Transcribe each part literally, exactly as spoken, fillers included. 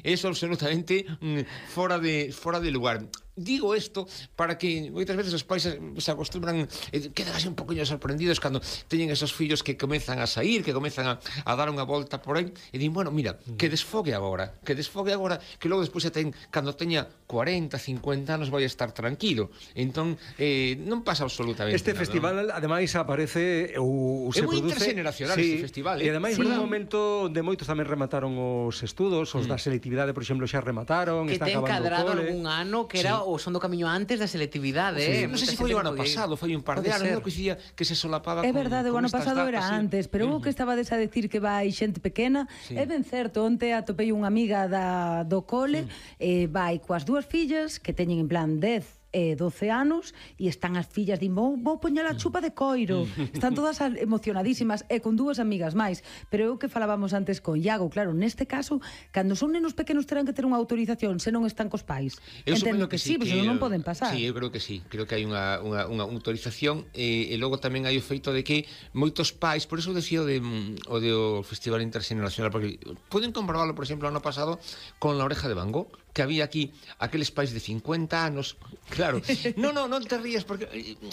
eso absolutamente mm, fora de fora de lugar. Digo isto para que moitas veces os pais se acostumbran, eh, quedan así un poquinho sorprendidos cando teñen esos fillos que comezan a sair, que comezan a, a dar unha volta por aí e din, bueno, mira, que desfogue agora, que desfogue agora, que logo despois se ten, cando teña cuarenta, cincuenta anos vai estar tranquilo. Entón, eh, non pasa absolutamente este nada. Este festival, ¿no? ademais, aparece ou se é moi produce... intergeneracional sí, este festival, E eh? ademais, sí. un momento onde moitos tamén remataron os estudos, os mm. da selectividade, por exemplo, xa remataron, que está ten acabando cadrado o cole. algún ano que era sí. o Son do Camiño antes da selectividade, sí. eh? Non sei se foi o ano pasado, foi un par de anos, non coincidía que se solapaba É con, verdade, o con ano estas pasado datas, era sí. antes, pero o que estaba a decir que vai xente pequena, Sí. é ben certo, onte atopei unha amiga da, do cole, eh, vai coas dúas fillas que teñen en plan dez e doce anos e están as fillas din, vou, vou poñer a chupa de coiro, están todas emocionadísimas e con dúas amigas máis, pero é o que falábamos antes con Iago, claro, neste caso cando son nenos pequenos terán que ter unha autorización se non están cos pais, Eu entendo supoño que, que sí, sí, pois que non poden pasar. Sí, eu creo que sí, creo que hai unha, unha, unha autorización e, e logo tamén hai o feito de que moitos pais, por eso decía o de, o de o Festival Intergeneracional, porque poden comprobarlo, por exemplo, ano pasado con La Oreja de Van Gogh, que había aquí aqueles pais de cincuenta anos, claro, non, non, non te rías porque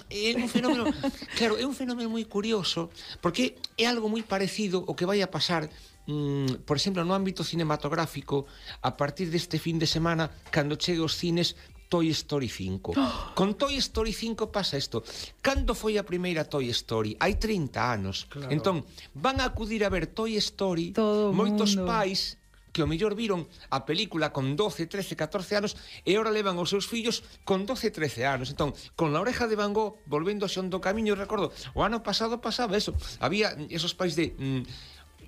é un fenómeno, claro, é un fenómeno moi curioso, porque é algo moi parecido o que vai a pasar, mm, por exemplo, no ámbito cinematográfico a partir deste fin de semana cando chegue aos cines Toy Story cinco. Oh. Con Toy Story cinco pasa isto. Cando foi a primeira Toy Story? Hai trinta anos. Claro. Entón, van a acudir a ver Toy Story todo moitos mundo. pais que o mellor viron a película con doce, trece, catorce anos e ahora levan os seus fillos con doce, trece anos. Entón, con La Oreja de Van Gogh, volvendo a Son do Camiño, recordo, o ano pasado pasaba eso. Había esos pais de... Mm,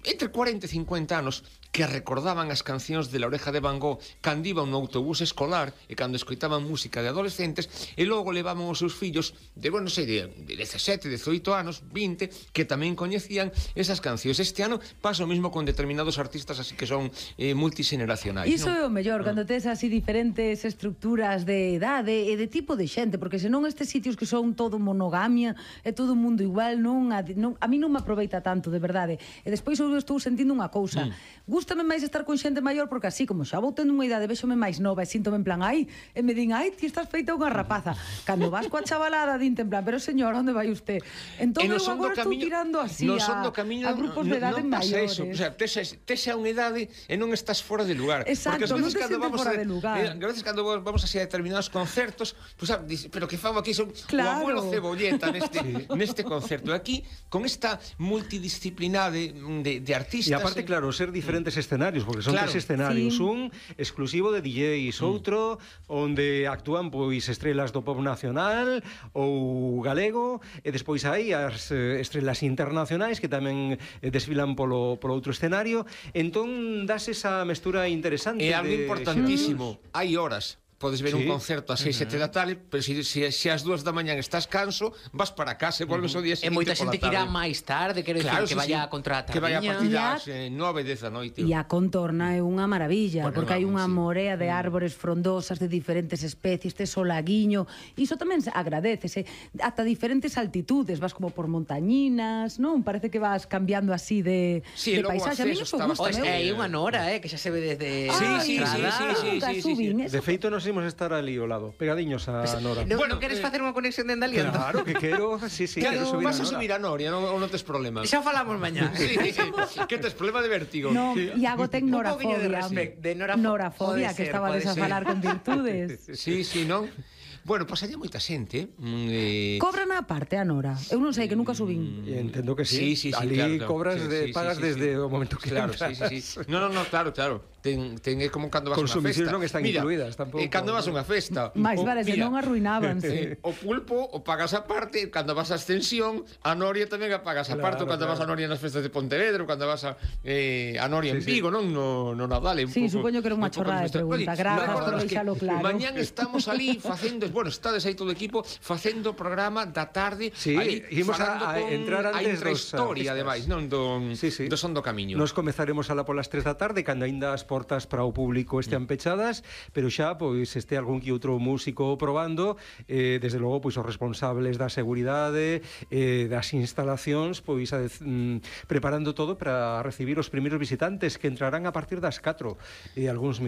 entre cuarenta e cincuenta anos que recordaban as cancións de La Oreja de Van Gogh cando iban no autobús escolar e cando escoitaban música de adolescentes e logo levaban os seus fillos de, bueno, non sei, de dezasete, dezoito anos, vinte, que tamén coñecían esas cancións. Este ano pasa o mismo con determinados artistas así que son eh, multigeneracionais. Iso non? é o mellor, cando tes así diferentes estructuras de idade e de tipo de xente, porque senón estes sitios que son todo monogamia, é todo o mundo igual, non a, non, a mí non me aproveita tanto, de verdade. E despois eu estou sentindo unha cousa. Mm. Gústame máis estar con xente maior porque así, como xa vou tendo unha idade, véxome máis nova e síntome en plan, ai, e me din, ai, ti estás feita unha rapaza. Cando vas coa chavalada, dinte en plan, pero señor, onde vai usted? Entón eu agora estou tirando así a, a grupos de idade maiores. Eso. O sea, tese, tese a unha idade e non estás fora de lugar. Exacto, porque non te sentes fora a, de lugar. Eh, a veces cando vamos así a determinados concertos, pues, ah, dice, pero que fago aquí son claro. o abuelo Cebolleta neste, sí. neste concerto. Aquí, con esta multidisciplinade de, de artistas... E aparte, eh... claro, ser diferentes mm. escenarios, porque son claro. tres escenarios. Sí. Un exclusivo de D Js, mm. outro onde actúan pois estrelas do pop nacional ou galego, e despois hai as eh, estrelas internacionais que tamén eh, desfilan polo, polo outro escenario. Entón, das esa mestura interesante. É algo de... importantísimo. Sí. Hai horas. Podes ver sí. un concerto a seis, sete da tarde, pero se, se, se ás dúas da mañan estás canso, vas para casa e volves o día seguinte. E moita xente que irá máis tarde, quero claro, decir, que sí, vaya sí. contra a tardiña. Que vaya a partir das eh, nove, dez da noite. E a contorna é unha maravilla, bueno, porque hai unha sí. morea de árbores frondosas de diferentes especies, tes o laguiño, iso tamén agradecese, ata diferentes altitudes, vas como por montañinas, non? Parece que vas cambiando así de, sí, de paisaxe. A mí iso gusta, meu. É unha nora, eh, que xa se ve desde... Sí, sí, sí, sí, sí, sí, sí. De feito, nos imos estar ali lado, pegadiños a Nora. No, bueno, non queres facer unha conexión dende aliento? Claro, que quero, sí, sí, claro, quero subir vas a, a subir a Noria, non, non tes problema. Xa falamos mañá. Sí, que tes problema de vértigo. No, Iago ten norafobia. De, de norafobia, norafobia que estabades a falar con virtudes. Sí, sí, non? Bueno, pasaría moita xente. Eh... Cobran a parte a Nora. Eu non sei, que nunca subín. E entendo que sí. Sí, sí, sí, ali claro, claro. cobras, sí, de, sí, pagas sí, sí, desde sí. o momento que claro, entras. sí, sí, sí. No, no, no, claro, claro. Ten, ten é como cando vas a unha festa. Consumicións non están mira, incluídas tampouco. Eh, cando vas a unha festa. Mais vale, se non arruinábanse. Eh, o pulpo o pagas a parte, cando vas a Ascensión, a Noria tamén a pagas a parte, claro, cando claro. vas a Noria nas festas de Pontevedra, cando vas a, eh, a Noria sí, en Vigo, sí. non no, no Nadal. Un sí, pouco, supoño que era unha chorrada de pregunta. Grazas por deixalo claro. Mañán estamos ali facendo, bueno, estades aí todo o equipo facendo o programa da tarde, sí, ali imos a, a con entrar antes a intrahistoria, ademais, non do, sí, sí. do Son do Camiño. Nos comezaremos alá polas tres da tarde, cando aínda as portas para o público estean pechadas, pero xa pois este algún que outro músico probando, eh, desde logo pois os responsables da seguridade, eh, das instalacións, pois a, mm, preparando todo para recibir os primeiros visitantes que entrarán a partir das catro e algúns minutos.